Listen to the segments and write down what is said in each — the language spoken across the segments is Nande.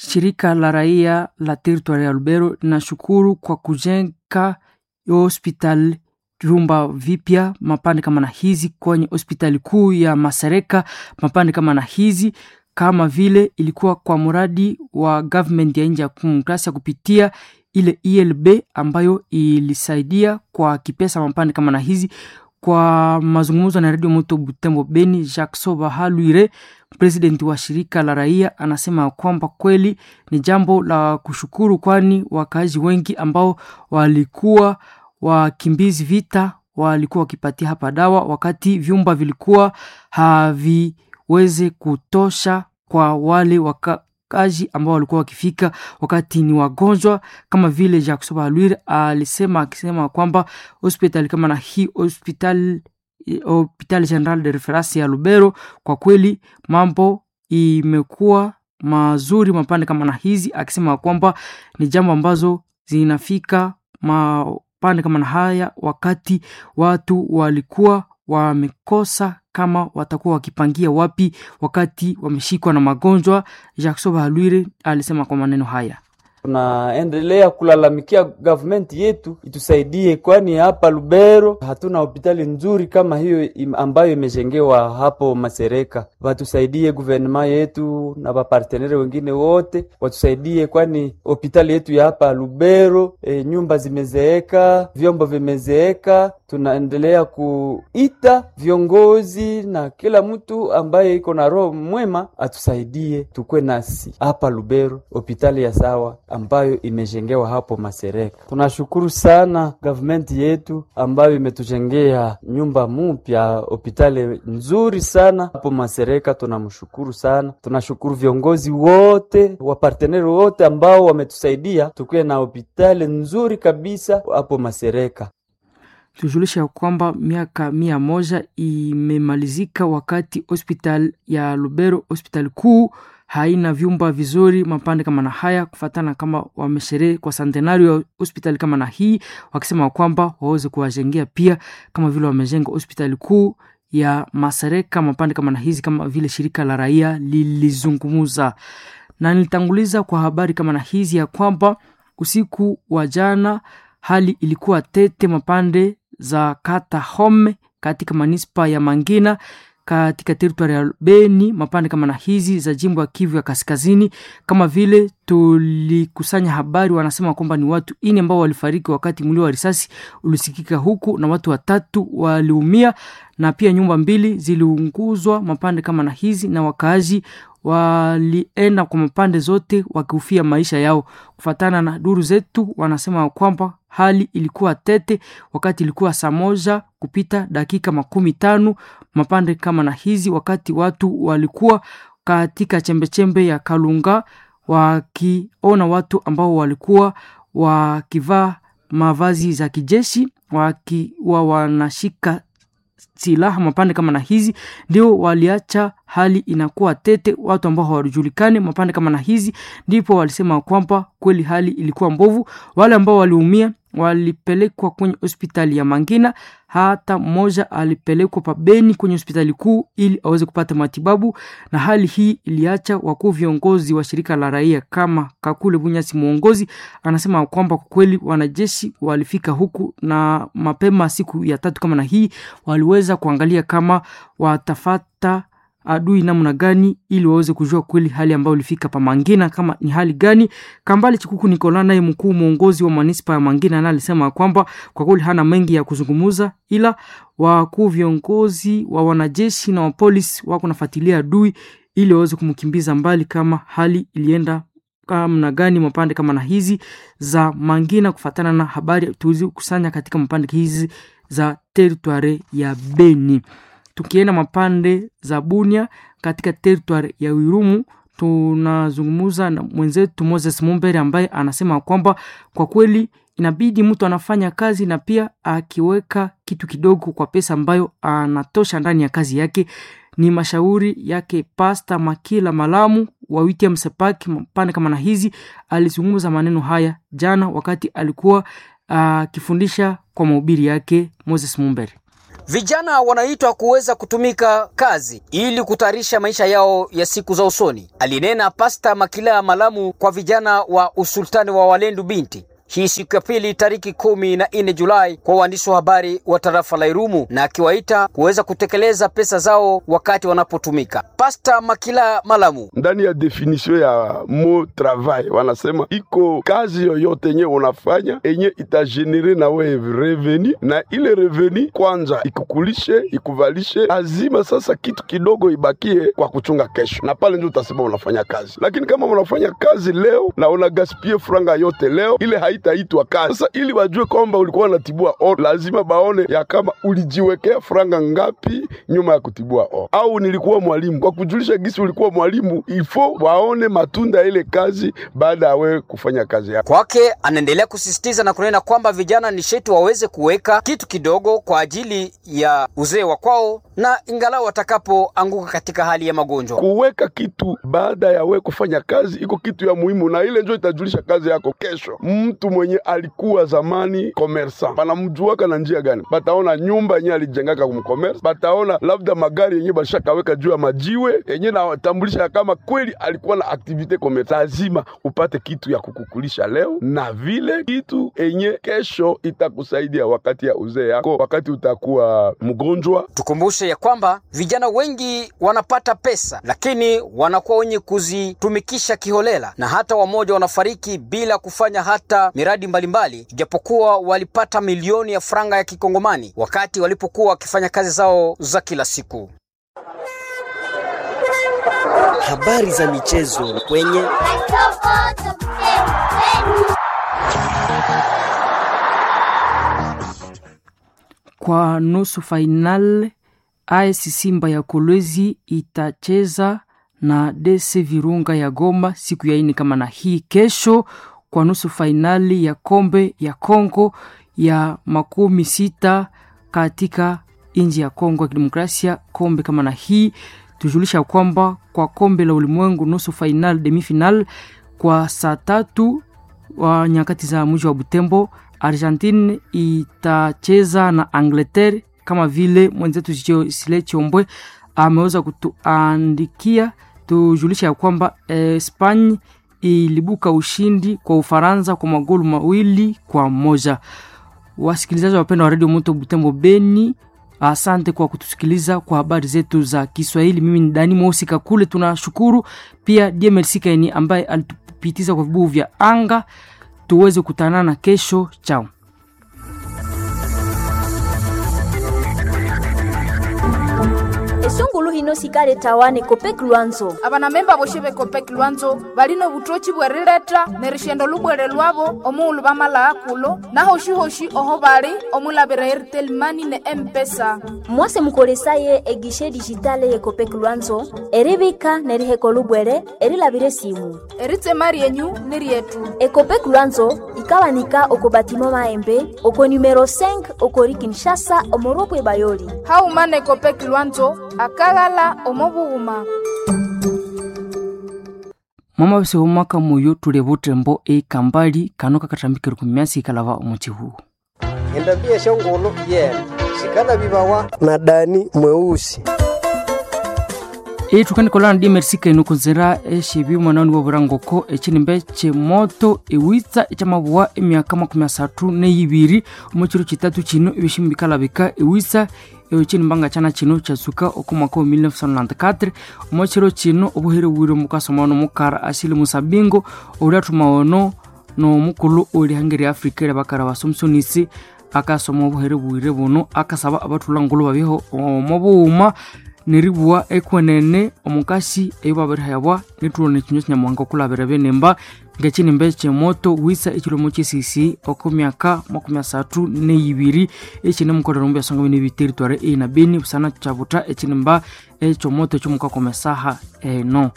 Shirika la raia la territoire ya Lubero linashukuru kwa kujenga hospitali vyumba vipya mapande kama na hizi kwenye hospitali kuu ya Masereka, mapande kama na hizi kama vile ilikuwa kwa mradi wa government ya nje ya demokrasia kupitia ile ELB ambayo ilisaidia kwa kipesa mapande kama na hizi. Kwa mazungumzo na Radio Moto Butembo Beni, Jackson Bahalwire, president wa shirika la raia, anasema kwamba kweli ni jambo la kushukuru, kwani wakaaji wengi ambao walikuwa wakimbizi vita walikuwa wakipatia hapa dawa, wakati vyumba vilikuwa haviweze kutosha kwa wale wakaaji ambao walikuwa wakifika wakati ni wagonjwa, kama vile Jackson Bahalwire alisema, akisema kwamba hospitali kama na hii hospitali Hopital General de Reference ya Lubero, kwa kweli mambo imekuwa mazuri mapande kama na hizi, akisema kwamba ni jambo ambazo zinafika mapande kama na haya wakati watu walikuwa wamekosa kama watakuwa wakipangia wapi wakati wameshikwa na magonjwa. Jackson Bahalwire alisema kwa maneno haya. Tunaendelea kulalamikia government yetu itusaidie, kwani hapa Lubero hatuna hospitali nzuri kama hiyo ambayo imejengewa hapo Masereka. Watusaidie guvernema yetu na wapartenere wengine wote watusaidie, kwani hospitali yetu ya hapa Lubero nyumba zimezeeka, vyombo vimezeeka. Tunaendelea kuita viongozi na kila mtu ambaye iko na roho mwema atusaidie, tukwe nasi hapa Lubero hospitali ya sawa ambayo imejengewa hapo Masereka. Tunashukuru sana government yetu ambayo imetujengea nyumba mpya, hospitali nzuri sana hapo Masereka. Tunamshukuru sana, tunashukuru viongozi wote wa parteneri wote ambao wametusaidia tukuwe na hospitali nzuri kabisa hapo Masereka. Tujulisha kwamba miaka 100 imemalizika wakati hospital ya Lubero, hospitali kuu haina vyumba vizuri mapande kama na haya, kufatana kama wamesherehe kwa centenario ya hospitali kama na hii, wakisema kwamba waweze kuwajengea pia kama vile wamejenga hospitali kuu ya Masereka mapande kama na hizi, kama vile shirika la raia lilizungumza. Na nilitanguliza kwa habari kama na hizi ya kwamba usiku wa jana hali ilikuwa tete mapande za kata Home katika manispa ya Mangina katika teritwari ya Beni, mapande kama na hizi za jimbo ya Kivu ya Kaskazini. Kama vile tulikusanya habari, wanasema kwamba ni watu 4 ambao walifariki wakati mlio wa risasi ulisikika huku na watu 3 waliumia, na pia nyumba 2 ziliunguzwa mapande kama na hizi, na wakaaji walienda kwa mapande zote wakihofia maisha yao. Kufatana na duru zetu, wanasema kwamba hali ilikuwa tete wakati ilikuwa saa 1:50 mapande kama na hizi, wakati watu walikuwa katika chembechembe ya Kalunga wakiona watu ambao walikuwa wakivaa mavazi za kijeshi wakiwa wanashika silaha mapande kama na hizi, ndio waliacha hali inakuwa tete, watu ambao hawajulikani mapande kama na hizi, ndipo walisema kwamba kweli hali ilikuwa mbovu. Wale ambao waliumia walipelekwa kwenye hospitali ya Mangina, hata mmoja alipelekwa pabeni kwenye hospitali kuu ili aweze kupata matibabu. Na hali hii iliacha wakuu viongozi wa shirika la raia kama Kakule Bunyasi muongozi anasema kwamba kwa kweli wanajeshi walifika huku na mapema siku ya 3 kama na hii waliweza kuangalia kama watafata adui namna gani ili waweze kujua kweli hali ambayo ilifika pa Mangina kama ni hali gani. Kambale Chikuku Nikola naye mkuu mwongozi wa manispa ya Mangina naye alisema kwamba kwa kweli hana mengi ya kuzungumza, ila wakuu viongozi wa wanajeshi na wa polisi wako nafuatilia adui ili waweze kumkimbiza mbali kama hali ilienda namna gani mapande kama na hizi za Mangina, kufatana na habari tulizokusanya katika mapande hizi za territoire ya Beni. Tukienda mapande za Bunia katika territoire ya Irumu, tunazungumza na mwenzetu Moses Mumbere ambaye anasema kwamba kwa kweli inabidi mtu anafanya kazi na pia akiweka kitu kidogo kwa pesa ambayo anatosha ndani ya kazi yake. Ni mashauri yake Pasta Makila Malamu wa wiki ya Msepaki mapande kama na hizi. Alizungumza maneno haya jana wakati alikuwa akifundisha kwa mahubiri yake. Moses Mumbere. Vijana wanaitwa kuweza kutumika kazi ili kutayarisha maisha yao ya siku za usoni, alinena Pasta Makila Malamu kwa vijana wa usultani wa Walendu Binti hii siku ya pili tariki 14 Julai kwa waandishi wa habari wa tarafa la Irumu, na akiwaita kuweza kutekeleza pesa zao wakati wanapotumika. Pasta Makila Malamu: ndani ya definition ya mo travail wanasema iko kazi yoyote yenye unafanya enye itagenere na wewe revenu, na ile revenu kwanza ikukulishe ikuvalishe, lazima sasa kitu kidogo ibakie kwa kuchunga kesho, na pale ndio utasema unafanya kazi. Lakini kama unafanya kazi leo na unagaspie franga yote leo, ile haitaitwa kazi. Sasa ili wajue kwamba ulikuwa unatibua or, lazima baone ya kama ulijiwekea franga ngapi nyuma ya kutibua or. Au nilikuwa mwalimu, kwa kujulisha gisi ulikuwa mwalimu, ifo waone matunda ile kazi baada ya wewe kufanya kazi yako. Kwake anaendelea kusisitiza na kunena kwamba vijana ni shetu waweze kuweka kitu kidogo kwa ajili ya uzee wa kwao na ingalau watakapoanguka katika hali ya magonjwa. Kuweka kitu baada ya wewe kufanya kazi iko kitu ya muhimu, na ile ndio itajulisha kazi yako kesho. Mtu mwenye alikuwa zamani commerçant banamjuaka na njia gani? Bataona nyumba yenye alijengaka kumcommerce, bataona labda magari yenye bashakaweka juu ya majiwe yenye natambulisha kama kweli alikuwa na activite commerce. Lazima upate kitu ya kukukulisha leo na vile kitu enye kesho itakusaidia wakati ya uzee yako, wakati utakuwa mgonjwa. Tukumbushe ya kwamba vijana wengi wanapata pesa lakini wanakuwa wenye kuzitumikisha kiholela, na hata wamoja wanafariki bila kufanya hata miradi mbalimbali, ijapokuwa walipata milioni ya franga ya kikongomani wakati walipokuwa wakifanya kazi zao za kila siku. Habari za michezo kwenye kwa nusu final AS Simba ya Kolwezi itacheza na DC Virunga ya Goma siku ya ine kama na hii kesho, kwa nusu fainali ya kombe ya Kongo ya 60 katika nchi ya Kongo ya Kidemokrasia. Kombe kama na hii tujulisha kwamba kwa kombe la ulimwengu nusu final demi final kwa saa 3 wa nyakati za mji wa Butembo, Argentine itacheza na Angleterre kama vile mwenzetu Sile Chiombwe ameweza kutuandikia. Tujulisha ya kwamba Spain ilibuka ushindi kwa Ufaransa kwa magoli 2-1. Wasikilizaji wapendwa wa Radio Moto Butembo Beni, asante kwa kutusikiliza kwa habari zetu za Kiswahili. Mimi ni Dani Mosi Kakule. Tunashukuru pia DMLC Kaini ambaye alitupitiza kwa vibuyu vya anga. Tuweze kutanana kesho. Chao. Esungulu hino sikale tawane Kopek Lwanzo. Abanamemba boshe be Kopek Lwanzo balino obutoki bwerileta nerishendo lubwere lwabo omuulu bamala kulo nahoshihoshi oho bali omulabira Airtel Money ne M-Pesa. Mwase mukolesaye egishe digitale ye Kopek Lwanzo eribika neriheko lubwere erilabire simu. Eritsema ryenyu ni ryetu. Ekopek Lwanzo ikawanika oko batimo maembe oko numero 5 okori Kinshasa omoropwe bayoli. Haumana Ekopek Lwanzo akagala omobughuma. Mama bese omwaka muyo tule butembo ekambali kano kakatambikire ku myasi ikalava omuchihu. Endambia shongolo yena sikala bibawa na Dani mweusi. Etukanikola na DMRC kaino kunzira eshibi mwanani wa burangoko echinimbe chemoto ewitsa echamabuwa emyaka 32 omuchiro chitatu chino ebishimbi bikalabika ewitsa echinimbanga chana chino chatsuka oko mwaka wa 1994 omuchiro chino obuhere bwire mukasoma nomukara asili musabingo ori ono nomukulu ori hangeri Afrika eri bakara basomsonisi akasoma obuhere bwire buno akasaba abathula ngulu babyeho omo bughuma neribua ekwenene omukasi eyo babirihebwa nithulo nekinywa kinyamuhanga okulabira benimba ngekinimba ekyemoto wisa ekilomo kyesisi oko myaka 32 ekine mukolera omu byasonga bine biteritware eina beni busana kyabutha ekinimba ekyomoto ekyomukakoma esaha eno.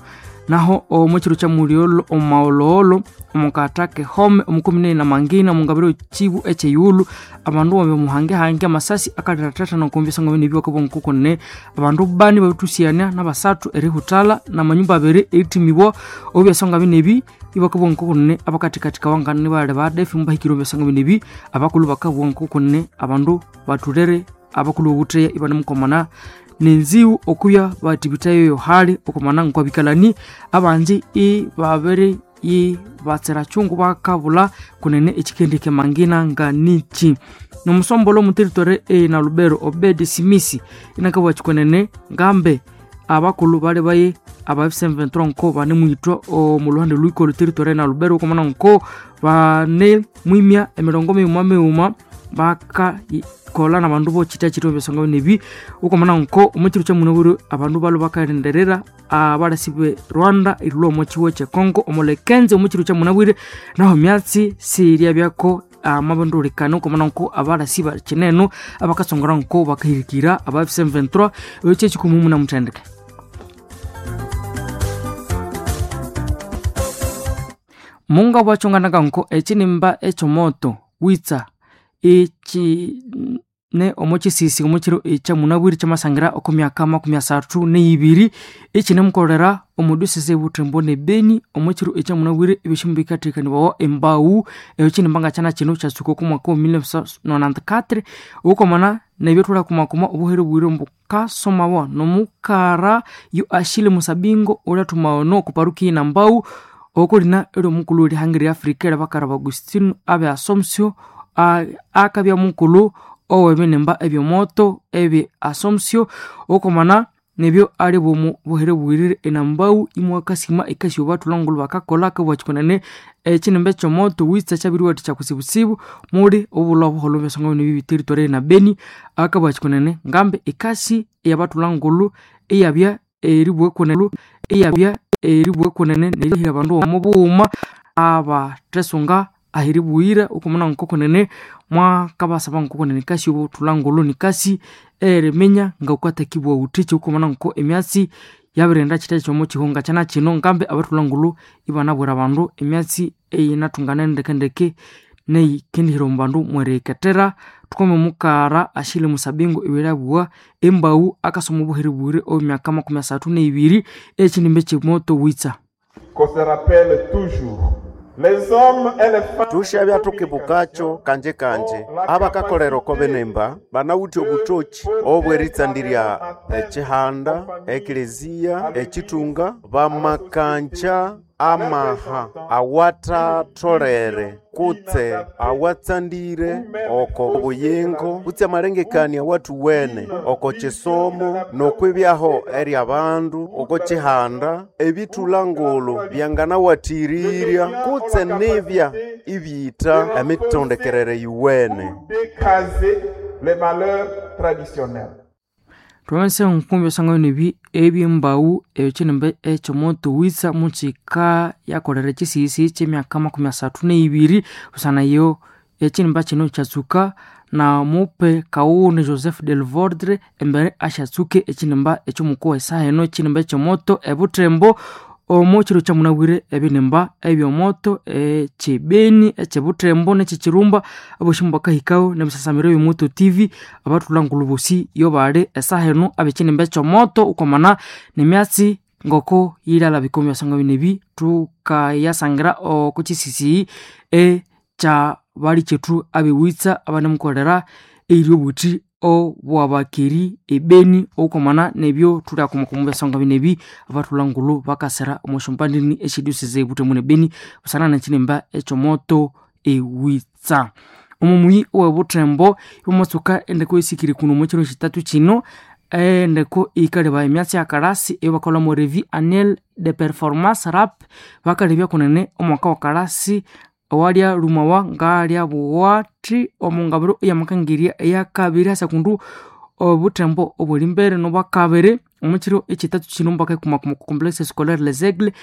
Naho omukiro kya mulyolo omumaghologholo omukatha kehome omukumi na mangina omungabiro chibu ekyeyulu abandu babe muhangehange amasasi akalirathatha nokumbya bine byakabongo abandu bani babithusyania nabasathu erihutala namanyumba abiri erithimibwa obyasonga binebi ibakabongo kunene abakathikathika wangana nibali badefi mubahikire obyasonga binebi abakulhu bakabongo kunene abandu bathulere abakulu bobutheya ibanemukomana nenziwu okubya batibithayo yohali okomana nkwabikalani abanji ibabiri ibatsira chungu bakabula kunene ekikendike mangina nga niki nomusombolo omuteritore na Lubero Obedi Simisi inakabwa chikonene ngambe abakulu bali baye aba M23 nko bane mwitwa omuluhande lwiko territory na Lubero okomana nko bane mwimya emirongo miuma miuma baka kola na bandu bochita chito byasonga nebi okomana nko omukiro kya munaburu abandu balo bakarenderera abalasi Rwanda irulo omukiwo kye Congo omulekenze omukiro kya munabwire naho myatsi siria byako amabondorekano okomana nko abalasi bakineno abakasongora nko bakahirikira aba M23 ekyo kikumumu na mutendeke. Munga bwachonganaga nko ekinimba ekyomoto witsa eki ne omukisisi omukiro ekya munabwiri kyamasangira okumyaka 32 ekinemukolera omudusese butembo ne Beni omukiro ekya munabwiri ebishimbu bikatekanibwawo embau ekinimba nga kyana kino kyasuka okumwaka wa 1994 okomana nebyethula kumakuma obuhere bwire mbukasomawa nomukara yo Ashile Musabingo ulathumaono kuparuki na mbau okulina eri omukulu erihanga lya Afrika erabakara ba Agustino abe Asomsio akabya mukulu ow'ebinimba ebyomoto ebi Asomsio okomana nebyo ali bomu buhere bwirire enambau imwakasima ekasi obathulangulu bakakola akabwakikonene ekinimba ekyomoto witsa kyabiriwathikya kyakusibusibu muli obulwa obuholho byasonga bino bibiteritore na Beni akabwakikonene ngambe ekasi eyabathulangulu eyabya eribwekonelu eyabya eribwekonene nerihira abandu omu bughuma abathesunga ahiribughira okomana nkokonene mwakabasaba nkokonene kasi obuthulangulu nikasi eriminya ngawukathakibwa wuthiki okomana nko emyatsi yabirenda kitha kyomo kihunga kyana kino ngambe abathulangulu ibanabwira abandu emyatsi eyinathungana ndekendeke neyikendihira omu bandu mwerikethera. Thukome mukara Ashile Musabingo ibirabugha embau akasoma obuhere bwire obwemyaka 32 ekinimba ekimoto witsa. Qu'on se rappelle toujours les hommes et les femmes tushabya tukibukacho kanje kanje abakakolera oko binemba banawithe obutoki obweritsandirya ekihanda ekeleziya ekitunga bamakancha amaha awathatholere kutse awatsandire oko buyingo kutse amalengekania awathuwene oko kisomo nokwibyaho eri abandu oko kihanda ebithulangulu byanganawathirirya kutse nibya ibyitha emitondekerere yuwene. Décaser les valeurs traditionnelles. Twamase nkumbi osanga nebi ebyembau ekinimba ekyomoto witsa mukika yakolera ekisisi kyemyaka 32 busana yo ekinimba kino kyatsuka na mupe kawuni Joseph Delvordre embere ashatsuke ekinimba ekyomukuwa esaha eno ekinimba ekyomoto ebutembo omo kiro kyamunabwire ebinimba ebyomoto ekyebeni ekyebutembo nekyekirumba aboshi bakahikaho nebisasamiro ebyomoto tv abathulangulu bosi yo bali esaha eno abekinimba ekyomoto okwamana nemyatsi ngoko yilalabika omu byasonga bino ebi thukayasangira oko kisisi ekya bali kyethu abewitsa abanemukolera eyiri obuthi obwabakeri ebeni okwamana nebyo thulyakomoka omu byasonga bino ebi abathulangulu bakasira omu syombandini esyediosese ebuthemu nebeni busana nekinimba ekyomoto ewitsa. Omu muyi owebuthembo ibamatsuka endeko esikiri kuno omu kiro kitatu kino endeko ikaleba emyatsi ya kalasi eyobakolhamu revue annuelle de performance rap bakalebya kunene omwaka wa kalasi owalya lumawa ngalya buwathi omungabiro eyamakangirya eyakabiri hasakundu obuthembo obuli mbere nobwakabiri omukiro ekitatu kino mbakaikumakuma ku complexe scolaire Les Aigles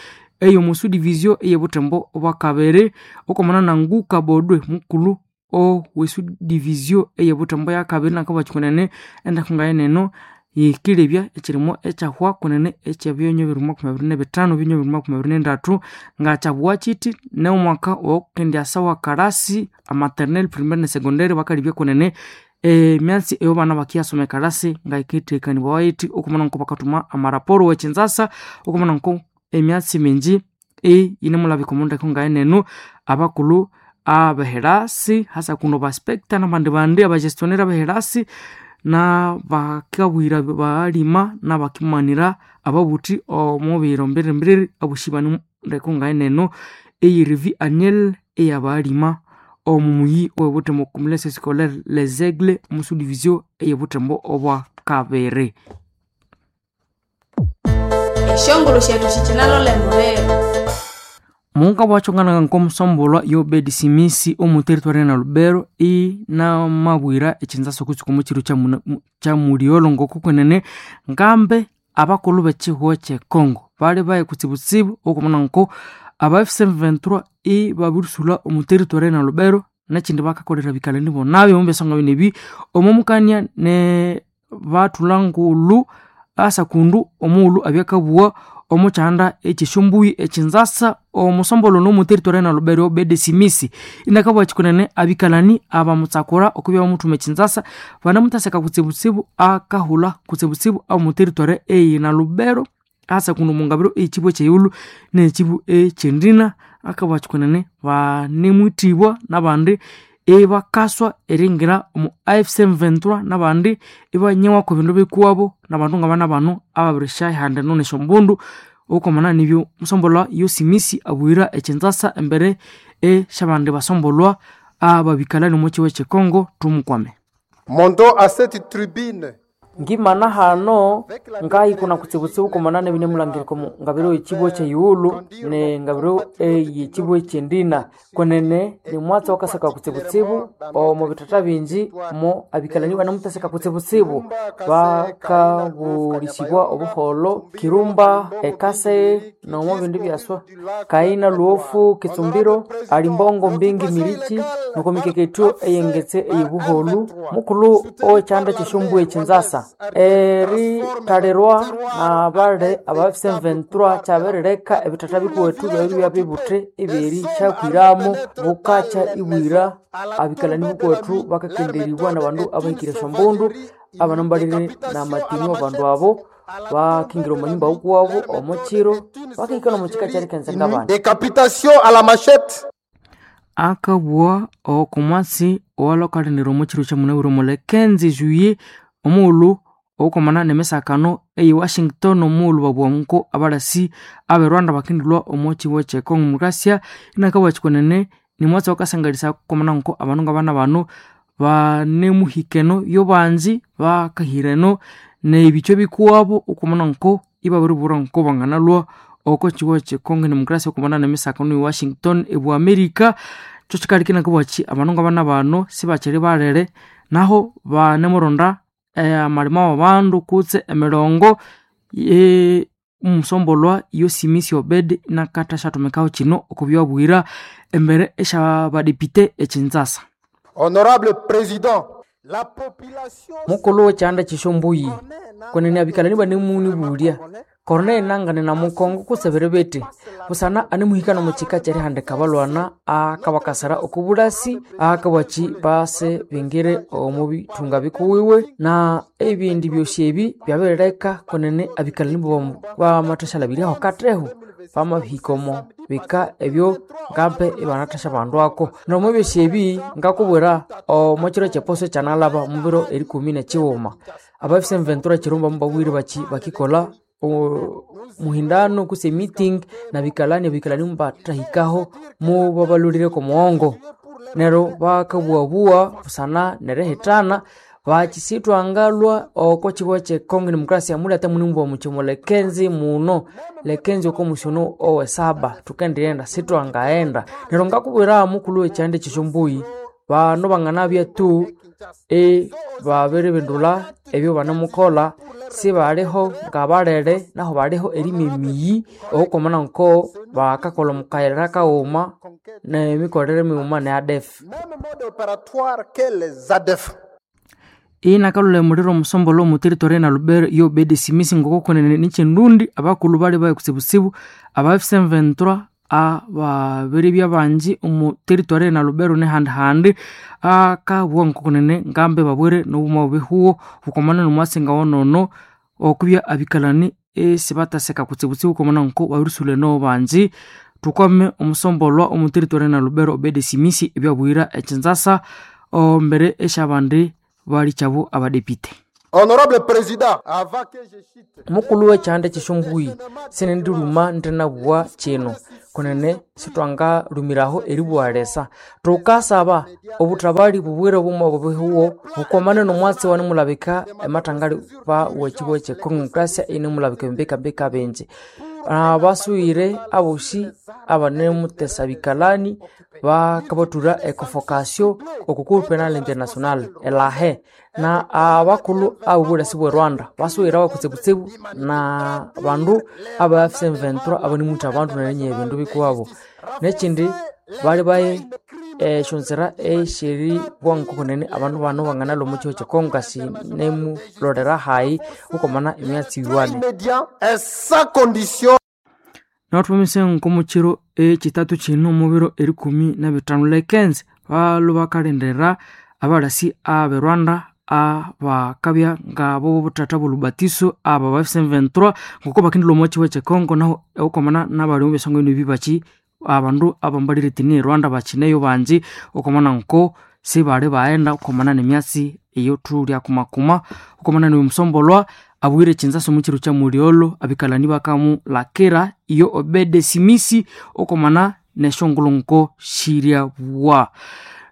eyo mu subdivision eyebuthembo obwakabiri okwamana na Nguka Bodwe mukulu owesudivisio eyebuthembo yakabiri nakabwakikunene endeko ngayeneno yikilebya ekirimo ekyahwa kunene ekyebyonyo 2025 byonyo 2023 ngakyabugha kiti neomwaka owokukendyasa wa kalasi amaternel primaire ne secondary bakalebya kunene emyatsi eyo bana bakiyasoma ekalasi ngayikethekanibwawa yithi okumana nko bakathuma amaraporo wekinzasa okumana nko emyatsi mingi eyinemulabika omundeko ngayeneno abakulhu abeherasi hasa kuno baspecta nabandi bandi abagestionnaire abeherasi Na bakabwira balima nabakimanira ababuthi omu biro mbiri-mbiri abushibani ndeko ngaeneno eyirivi annuel eyabalima omu muyi owebuthembo complexe scolaire Les Aigles omu subdivision eyebuthembo obwa kabiri. Eshongolo shetu shikinalole muliro. Munga bwachonganaga nkomusombolwa Yobedi Simisi omu territory na Lubero inamabwira echinzaso kutsuka omu chiro kya muliolo ngoko kwenene ngambe abakulhu b'ekihugho ky'econgo bali baye kutsibutsibu okumuna nko aba F23 ibabirisula omu territory na Lubero nekindi bakakolera bikalani bonabi omu byasonga bino ebi omu mukania ne bathula ngulhu asakundu omughulhu abyakabugha omu kyanda ekyesyombui ekyinzasa omusombolo n'omu territory na Lubero Obedi Simisi inakabugha kyikunene abikalani abamutsakura okubya bamuthuma ekyinzasa banamuthaseka kutsibutsibu akahulha kutsibutsibu omu territory eyi na Lubero asakundu omungabiro eyikibu ekyeyilhu nekibu ekyendina akabugha kyikunene banemwithibwa nabandi ibakaswa eringira omu AFC M23 nabandi ibanyewako ebindu bikuwabo nabandu ngabana bano ababirisyaihanda eno nesyombundu okwamana nibyo musombolwa Yosimisi abwira ekyinzasa embere esyabandi basombolwa ababikalani omu kigo ekyekongo tumukwame. Mondo à cette tribune Ngimana hano ngayikuna kutsibutsibu kumana nebinemulangirika omu ngabiro ekibu ekyeyighulhu ne ngabiro eyekibu ekyendina kwenene nimwatsi wakasaka kutsibutsibu omu bithatha bingi mo abikalani banamuthaseka kutsibutsibu bakabulisibwa obuholho Kirumba, Ekase nomo bindi byaswa Kaina, Luofu, Kitsumbiro, Alimbongo, Mbingi, Mirichi noko mikekethu eyengetse eyibuholu mukulhu owekyanda kyesyombu ekyinzasa erithalirwa nabali aba F23 kyabirileka ebithatha bikuwethu byabiribya bibuthi ibyerithyakwiramo bukakya ibwira abikalani bukuwethu bakakenderibwa nabandu abahikire esyombundu abanambalire namatini wabandu abo bakingira omwanyumba wukuwabo omukyiro bakahika nomukyika kyerikenza ngabandi. Décapitation à la machette. Akabugha okumwatsi owalhwakalinira omu kyiro kyamunabwire omuli 15 juillet omughulhu okwamana nemisakano eye Washington omughulhu babugha nko abalasi abe Rwanda bakindilhwa omu kigo kye Congo Demokrasia inakabugha kyikunene nimwatsi owakasangalisa kwamana nko abandu ngabana bano banemuhikeno yobanzi bakahireno nebithwa bikuwabo okwamana nko ibabiribwira nko banganalhwa oko kigo kye Congo Demokrasia okwamana nemisakano eye Washington ebu America kyo kyikaleka inakabugha kyi abandu ngabana bano sibakyiri balere naho banemuronda amalima wabandu kutse emirongo omusombolwa Yosimisi Obedi nakatha syathumikaho kino okubyabwira embere esyabadepite ekyinzasa. Honorable Président, la population Mukulhu wekyanda kyesyombuyi kwenene abikalani banemunibulya Corneille Nangane na Mukongo kusebere bete busana anemuhikana omu kika kyerihandika abalwana akabakasira okubulasi akabwaki base bingire omu bithunga bikuwiwe na ebindi byosi ebi byabirileka kwenene abikalani bamathashalabiryaho kathehu bamabihika omo bika ebyo ngambe ibanathasya bandu ako nomo ebyosi ebi ngakubwira omo kiro kyeposo kyanalaba omu biro erikumi nekyighuma aba F23 Kirumba mubabwire baki bakikolha muhindano kutse meeting nabikalani abikalani mubathahikaho mubabalholireko omughongo neryo bakabughabugha busana nerihithana bakisithwangalhwa oko kigo kye Congo Demokrasia mulyatha munimubugha muthi mulekenzi muno lekenzi oko musyono owesaba thukendighenda sithwangaghenda neryo ngakubwira mukulhu wekyanda ekyesyombuyi bano banganabya tu ibabiribindulha ebyo banemukolha sibaliho ngabalere naho baliho erima emiyi okwamana nko bakakolha omukayira kaghuma nemikolere mighuma ne ADF. Même mode opératoire que les ADF. Inakalhula emuliro omusombolwa omu territory na Lubero Yobedi Simisi ngoko kwenene nikyindundi abakulhu bali baye kutsibutsibu aba F23 ababiribya bangi omu territory na Lubero nehandi-handi akabugha ngoko kwenene ngambe babwire nobuma bubihuho bukomana nomwatsi ngawonono okubya abikalani isibathaseka kutsibutsibu okwamana nko babirisulha eno bangi. Thukwame omusombolwa omu territory na Lubero Obedi Simisi ebyabuyira ekyinzasa ombere esyabandi. bali kyabo abadepite. Honorable Président, avant que je chite Mukulu w'ekyanda ky'esyonguyi sinendiruma ndinabugha kino kunene sithwangalumiraho eribugha Thukasaba obuthabali bubwire bumwe bubihuwo bukwamane n'omwatsi wanemulabika emathangali ba w'ekibuga kye Congo inemulabika embikambika bingi. Abasughire abosi abanemutesa bikalani bakabathura econvocation oko Cour Penal International elahe na abakulhu ab'obulasi bwe Rwanda basughire abakutsibutsibu na bandu aba M23 abanimwitha abandu nerinyiha ebindu bikuwabo. Nekindi bali baye esyonzira esyeribugha ngokunene abandu bano banganalhwa omo kihugho kye Congo sinemulolera hayi okwamana emyatsi yiwane. Nathwamise nkomukyiro ekyithathu kino omubiro erikumi nabithanu lekenzi balhwe bakalindira abalasi abe Rwanda abakabya ngabo buthatha bolubatiso aba ba M23 ngoko bakendilhwa omo kihugho kye Congo naho okwamana nabali omu byasonga bino bibaki abandu abambalire etini e Rwanda bakineyo bangi okwamana nko sibali baghenda okwamana nemyatsi eyothulya kumakuma okwamana nomusombolwa abwire ekinzasa omu kiro kya mulyolho abikalani bakamulakira iyo Obede Simisi okwamana nesyongulhu nko shiryabwa.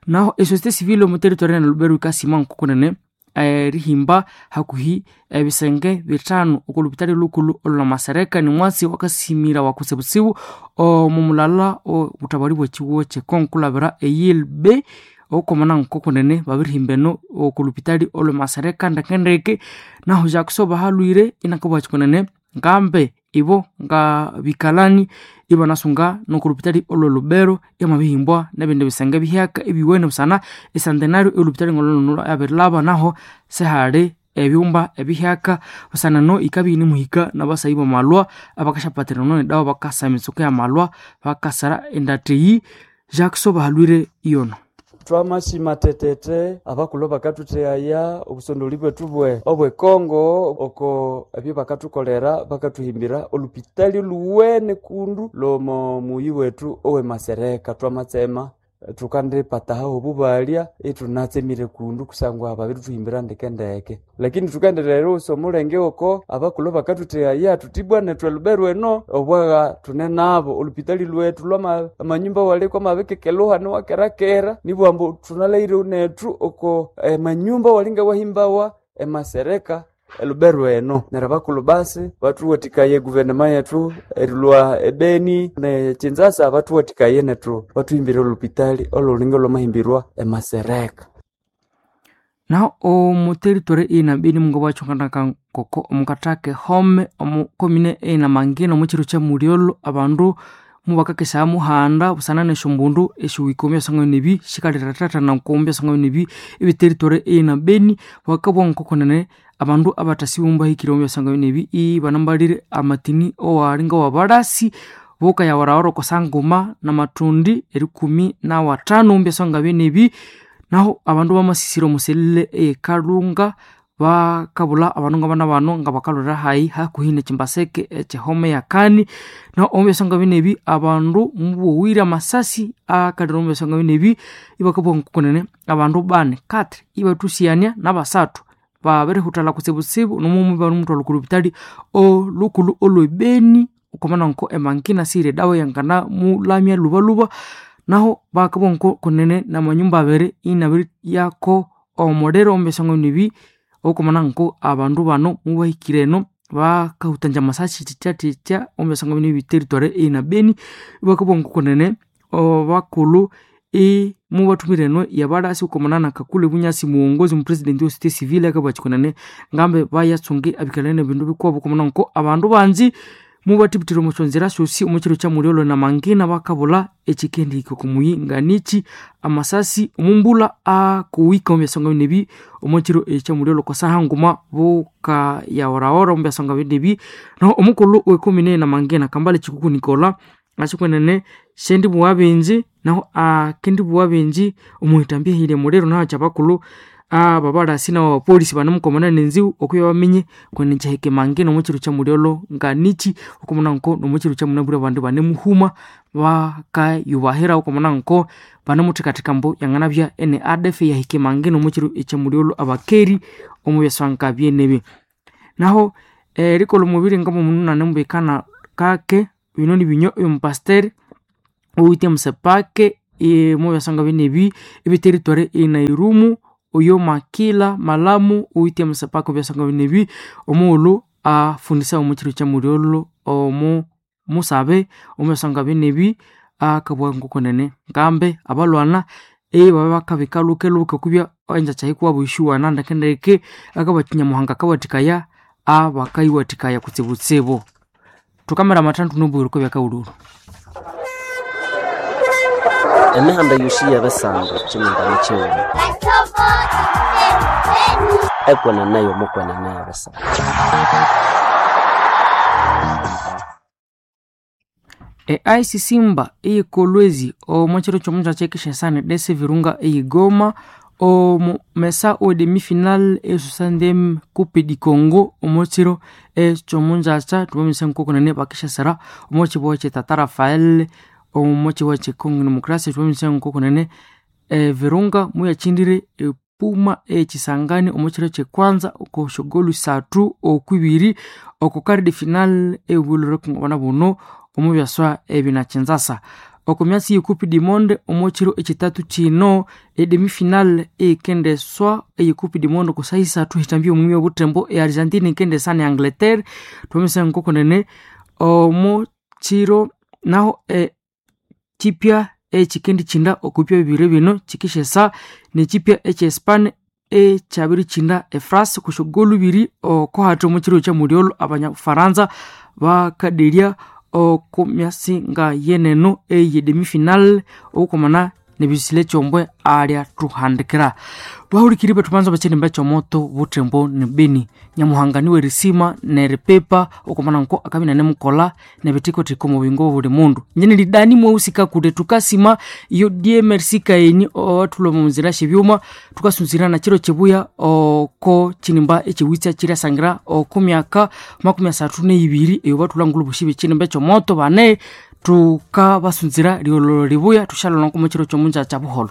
Naho esociété civile omu territory ya Lubero yikasima nkokunene erihimba hakuhi ebisenge bithanu oko lupitali lukulhu olwa nimwatsi wakasimira wakutsibutsibu omu mulala obuthabali bw'ekihugo kye Congo kulabira eyilb okwamana nkokunene babirihimba eno oko lupitali olwe Masereka ndekendeke naho Jackson bahalwire inakabugha kunene ngambe ibo nga bikalani ibanasunga noko lupitali olwe Lubero yamabihimbwa nebindi bisenge bihyaka ebiwene busana esantenario elupitali ngolololo yabirilaba naho sihali ebyumba ebihyaka busana no ikabya inimuhika nabasayi bamalwa abakasyapatirana nedawa bakasa emitsuko yamalwa bakasara endathiyi Jackson bahalwire iyono. Twamashima tetete abakulhu bakathuthehaya obusondoli bwethu bwe obwekongo oko ebyo bakathukolera bakathuhimbira olupitali oluwene kundu lwomo muyi wethu owe Masereka. Twamatsema thukandipataho obubalya ithunatsemire kundu kusangwa babirithuhimbira ndekendeke, lakini thukaendelera erighusa omulenge oko abakulhu bakathuthehaya thuthi bwana nethu elubero eno obwagha thune nabo olupitali lwethu lwama amanyumba waliko amabikekeluha niwakerakera nibugha ambu thunalhaghire nethu oko emanyumba walinga wahimbawa emasereka elubero eno. Neryo abakulhu basi bathuwathikaye egovernema yethu erilhwa ebeni ne Kinzasa bathuwathikaye nethu bathuhimbire olupitali olhulinga olwamahimbirwa emasereka. Naho omu territory ina Beni mungabwakyonganaka ngoko omukathaka ehome omu komine ina Mangina omu kiro kya mulyolho abandu mubakakesaya muhanda busana nesyombundu esyohika omu byasonga nebi shikalirathana omu byasonga nebi ebi territory ina Beni bakabugha ngokunene abandu abathasiwe mubahikire omu byasonga nebi ibanambalire amatini owalinga wabalasi bukayawaraghara oko sanguma namathundi erikumi nawathanu omu byasonga byenebi. Naho abandu bamasisira omuselile eyekalunga bakabulha abandu ngabana bano nga bakalhwira hayi hakuhi nekimbaseke ekyehome yakani. Naho omu byasonga binebi abandu mubowire amasasi akalira omu byasonga binebi ibakabugha ngokunene abandu bani katri ibathusyania nabasathu babirihuthalha kutsibutsibu nomughuma ibanemumuthwalha oko lupitali olhukulhu olwe Beni okwamana nko emangina siyiri edawa eyanganamulamya lhubalhuba. Naho bakabugha ngokunene namanyumba abiri inabiriyako omuliro omu byasonga binebi okwamana nko abandu bano mubahikire eno bakahutangya amasasi thityathitya omu byasonga binebi territory ina Beni ibakabugha ngokunene abakulhu mubathumire eno yabalasi okwamana na Kakule Bunyasi muwongozi omupresident we société civile akabugha kunene ngambe bayatsunge abikalani ebindu bikuwabo okwamana nko abandu bangi mubathibithira omu syonzira syosi omu kiro kya mulyolho na Mangina bakabulha ekyikendihika okumuyi nganichi amasasi omumbulha akuwika omu byasonga binebi omu kiro ekya mulyolho kwasaha nguma bukayaworaghora omu byasonga binebi. Naho omukulhu wekomine na Mangina Kambale Chikuku Nicola ashikunene shendibugha bingi naho akendibugha bingi omuhitambya ehirya muliro naho kyabakulhu Ababalasi nabo abapolisi banemukomana nenziwu okubya bamenye kwene kyahike mange nomukiro kya mulyolo nganichi okumuna nko nomukiro kya munabwire abandu banemuhuma bakayubahira okumuna nko banemuthekatheka mbu yanganabya ene ADF yahike mange nomukiro ekya mulyolo abakeri omu byaswanka byenebi. Naho erikolha omubiri ngomundu nanemubikana kake bino nibinywa ebyomupasiteri owithe musepake mubyaswanga byenebi ebyeteritory enairumu oyo Makila Malamu owithe musepake obyaswanga byenebi omughulhu afundisa omukiro kya mulyolho omu musabe omubyaswanga byenebi akabugha ngokunene ngambe abalwana ebabya bakabika lhuke-lhuke okubya engyakya yikuwabo yishuwana ndeke-ndeke akabugha Nyamuhanga akawathikaya abakayiwathikaya kutsibutsibu. Thukamira amathandu nobuyiro okw'ebyakawulhulhu. Emihanda yosi y'ebisando kyimindani kyighuma ekwenene y'omukwenene y'ebisando. E-IC Simba eyikolwezi omo kiro ky'omungyakya ekishasana dese Virunga eyigoma omu mesa owe demi-final e-60e Coupe du Congo omo kiro eky'omungyakya thubamisa nkokunene bakishasira omo kibugha kye Tata Rafael omo kibugha kye Congo Democracy thubamisa nkokunene Virunga muyakyindire epuma eyekisangani omo kiro kyekwanza oko syogolu isathu okwibiri oko quart de final eyobulhwere kungabana buno omu byaswa ebinakyinzasa. Oko myatsi ye Coupe du Monde omo kiro ekyithathu kino edemi-final eyikendeswa eye Coupe du Monde oko saha isathu esyithambya omwimi obuthembo e Argentina yikendesa ne Angleterre thwamisa nkokunene omo kiro naho kyipya ekyikendikyinda okubya bibiri bino kyikisyesa nekyipya ekye Spain ekyabirikyinda e France okw'esyogolu ibiri oko hathi omo kiro kya mulyolho abanyafaransa bakaderya oko myatsi nga yeneno eye demi-final obukomana nebisile kyombwe alyathuhandikira. Bahulikiri bethu banza bakyirimba ekyomoto buthembo ne Beni. Nyamuhanga niwe erisima neripipa okomana nko akabya inanemukolha nebithikothiko omu buyingo bwa buli mundu. Ingye nilidani mweusi kakule thukasima iyo DMRC kaeni owathulha omu nzira syebyuma thukasunzira nakiro kyibuya oko kyinimba ekyiwitsa kyiryasangira oko myaka 32 eyo bathulhangulha obosi bekyinimba ekyomoto bane thukabasunzira ryolho libuya thushalholha nko mukiro kyomungyakya buholho.